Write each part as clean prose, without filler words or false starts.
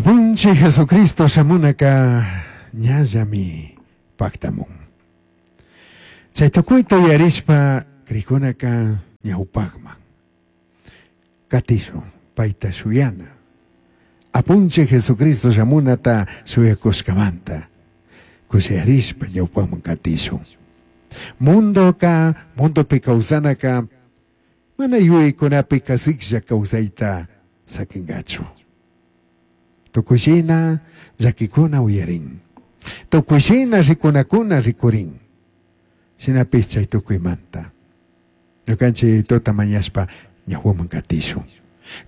Apunchij Jesucristo shamunaka ñallami pajtamun. Chay tukuyta uyarishpa crijkunaka ñawpajman katishun payta shuyana. Apunchij Jesucristo shamunata shuyakushkamanta kushiyarishpa ñawpajman katishun. Mundoka, mundopi kawsanaka mana yuyaykunapi kasiklla kawsayta sakinkachu. Tukuy shina llakikuna uyarin. Tukuy shina rikunakuna rikurin. Shinapish chay tukuymanta. Ñukanchik tuta mañashpa ñawpaman katishun.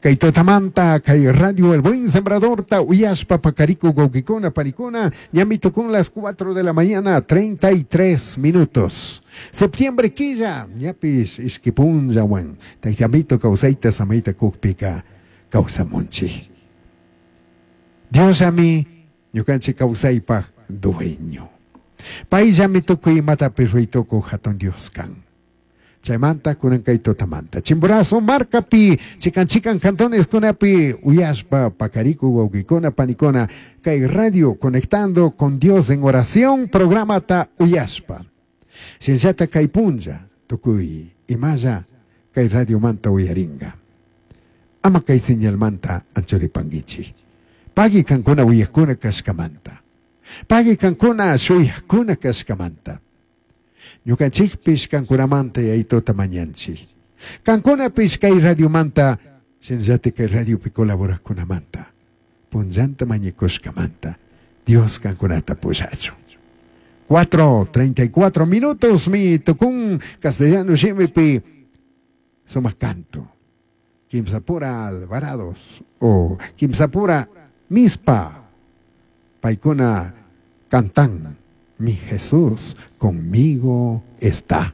Kay tutamanta kay radio El Buen Sembradorta uyashpa pakarikuk wawkikuna panikuna ñami tukun las 4 de la mañana 33 minutos. Septiembre killa ñapish ishki punllawan Tayta Amito kawsayta samayta kukpika kawsamunchik. Diosllami ñukanchik kawsaypaj dueño. Payllami tukuy imatapish ruytukuq hatun Dios kan. Chaymanta kunan kay tutamanta. Chimborazo markapi, chikan chikan cantones kunapi, uyashpa, pakarikuk, wawkikuna, panikuna, kay radio conectando con Dios en oración, programata uyashpa. Shinllata kay punlla, tukuy imalla kay radio manta uyaringa. Ama kay señalmanta anchuripankichik. Pagui kankuna uyakuna kashkamanta. Pagui kankuna shuyakuna kashkamanta. Ñukanchikpish kankunamanta yayituta mañanchik. Kankunapish kay radiomanta, shinallati kay radiopi colaborajkunamanta, punllanta mañakushkamanta, Dios kankunata pushachun. 4:34 minutos mi tukun castellano shimipi sumak canto. Kimsapura Alvarados o Kimsapura Mispa. Paykuna cantan. Mi Jesús conmigo está.